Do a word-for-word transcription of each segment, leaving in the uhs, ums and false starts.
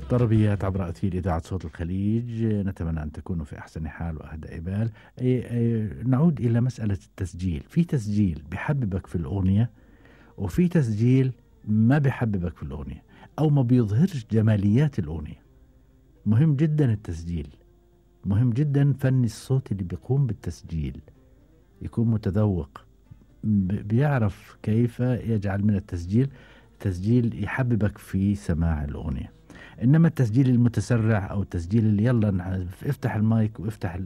طربيات عبر أثير إذاعة صوت الخليج، نتمنى أن تكونوا في أحسن حال وأهدى بال. نعود إلى مسألة التسجيل. في تسجيل بحببك في الأغنية، وفي تسجيل ما بحببك في الأغنية أو ما بيظهرش جماليات الأغنية. مهم جدا التسجيل، مهم جدا فن الصوت اللي بيقوم بالتسجيل يكون متذوق، بيعرف كيف يجعل من التسجيل تسجيل يحببك في سماع الأغنية. إنما التسجيل المتسرع أو التسجيل اللي يلا افتح المايك وافتح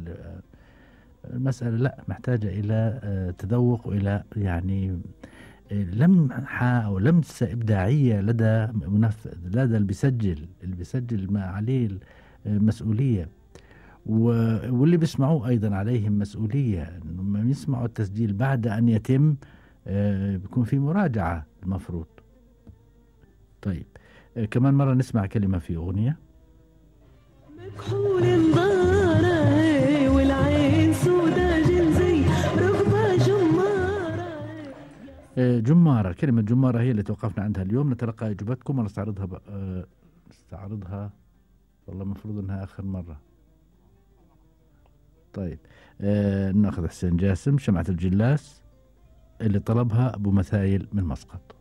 المسألة، لا، محتاجة إلى تذوق وإلى يعني لمحة أو لمسة إبداعية لدى منفذ، لدى اللي بيسجل اللي بيسجل ما عليه مسؤولية، واللي بيسمعوه أيضا عليهم مسؤولية إنهم يسمعوا التسجيل بعد أن يتم، بيكون في مراجعة المفروض. طيب كمان مرة نسمع كلمة في أغنية. مكحول انظاره والعين سودا جنزي ركبة جمارة. جمارة، كلمة جمارة هي اللي توقفنا عندها اليوم. نتلقى إجابتكم ونستعرضها ب... نستعرضها والله المفروض أنها آخر مرة. طيب آه ناخذ حسين جاسم، شمعة الجلاس اللي طلبها أبو مثايل من مسقط.